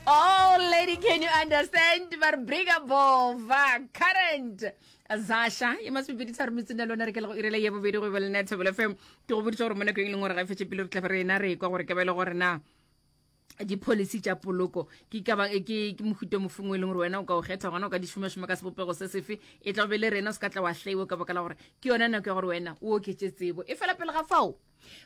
Oh lady can you understand ba re briga bova current zasha ye masomepedi tharo metseng lona re ke le go irela ye bobedi go be le nna Thobela FM ke go boditse gore mo nakong e leng gore ga e fetse pele re tla be re ena re kwa gore ke ba e le gore na di-policy tša poloko ke ka ba ke ke mohuta mofeng o e leng gore wena o ka o kgetha gona o ka di šomašoma ka sebopego se sefe e tla be le rena o se ka tla wa hlaiwa ka baka la gore ke yona nako ya gore wena o oketše tsebo e fela pele ga fao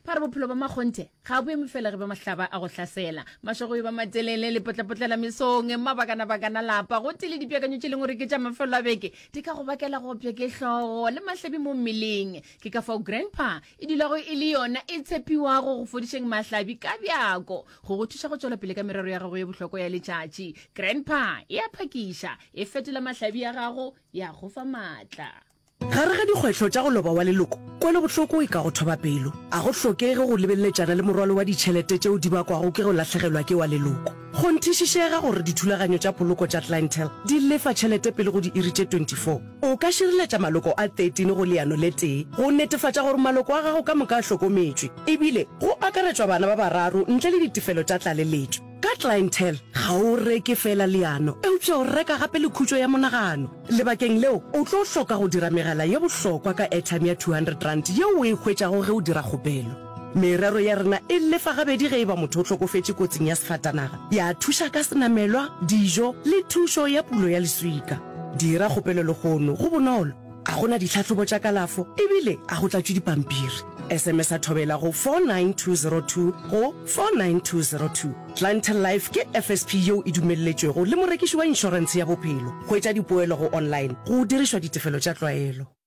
Ba re bophelo ba makgonthe ga bo eme fela ge ba mahlaba a go hlasela. Mašego e ba matelele, lepotlapotlela mesong, mabakanabakana lapa, gotee le dipeakanyo tše leng gore ke tša mafelo a beke di ka go bakela go opša ke hlogo le mahlabi mo mmeleng. Ke ka fao Grandpa e dulago e le yona e tshepiwago go fodišeng mahlabi ka bjako go go thuša go tšwela pele ka merero ya gago ye bohlokwa ya letšatši. Grandpa e a phakiša, e fetola mahlabi a gago ya go fa maatla. Gare ga dikgwetlho tša go loba wa leloko, kwelobohloko e ka go thoba pelo. A go hlokege go lebeleletšana le morwalo wa ditšhelete tšeo di bakwago ke go lahlegelwa ke wa leloko. Kgonthišišega gore dithulaganyo tša poloko tša Clientele di lefa tšhelete pele go diiri tše 24. O ka šireletša maloko a 13 go leano le tee go netefatša gore maloko a gago ka moka a hlokometšwe, ebile go akaretšwa bana ba bararo ntle le ditefelo tša tlaleletšo. Ka Clientele, ga o reke feela leano, eupša o reka gape le khutšo ya monagano. Lebakeng leo, o tlo hloka go dira megala ye bohlokwa ka airtime ya R200 yeo o e hwetšago ge o dira kgopelo. Merero ya rena e lefa gabedi ge e ba motho o hlokofetše kotsing ya sefatanaga, ya thuša ka senamelwa, dijo le thušo ya pulo ya leswika. Dira kgopelo lehono, go bonolo, ga go na ditlhahlobo tša kalafo ebile ga go tlatšwe dipampiri. SMS-a Thobela go 49202 go 49202. Clientele Life ke FSP yeo e dumelletšwego le morekiši wa inšorentshe ya bophelo. Hwetša dipoelo go online go dirišwa ditefelo tša tlwaelo.